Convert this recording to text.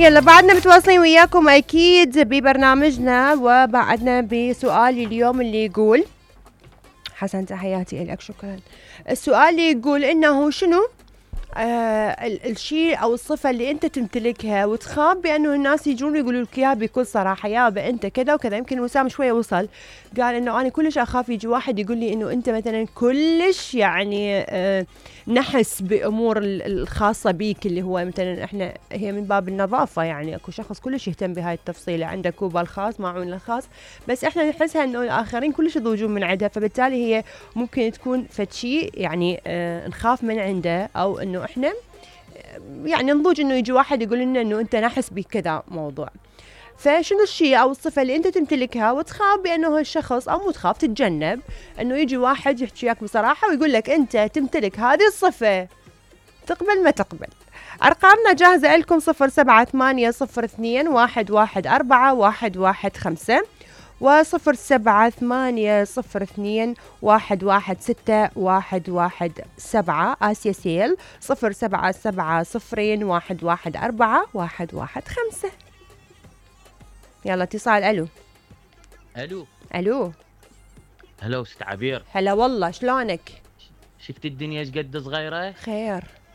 يلا بعدنا متواصلين وياكم اكيد ببرنامجنا، وبعدنا بسؤالي اليوم اللي يقول، حسن تحياتي لك شكرا. السؤال اللي يقول انه شنو الشيء او الصفة اللي انت تمتلكها وتخاف بانه الناس يجون يقولوا لك اياها بكل صراحة، يابا انت كذا وكذا. يمكن وسام شوية وصل قال انه انا كلش اخاف يجي واحد يقول لي انه انت مثلا كلش يعني نحس بامور الخاصة بيك، اللي هو مثلا احنا هي من باب النظافة، يعني اكو شخص كلش يهتم بهاي التفصيلة، عنده كوبا الخاص معون الخاص، بس احنا نحسها انه الاخرين كلش يضوجون من عندها، فبالتالي هي ممكن تكون فد شيء يعني نخاف من عنده، او انه احنا يعني نضوج انه يجي واحد يقول لنا انه انت نحس بكذا موضوع. فشنو الشيء او الصفة اللي انت تمتلكها وتخاف بانه الشخص، او مو تخاف تتجنب انه يجي واحد يحكي وياك بصراحة ويقول لك انت تمتلك هذه الصفة، تقبل ما تقبل؟ ارقامنا جاهزة لكم 0782114115 و07802116117 آسيا سيل 0770211415. يلا اتصال. الو الو الو. هلا ست عبير، هلا والله، شلونك؟ شفت الدنيا ايش قد صغيره؟ خير.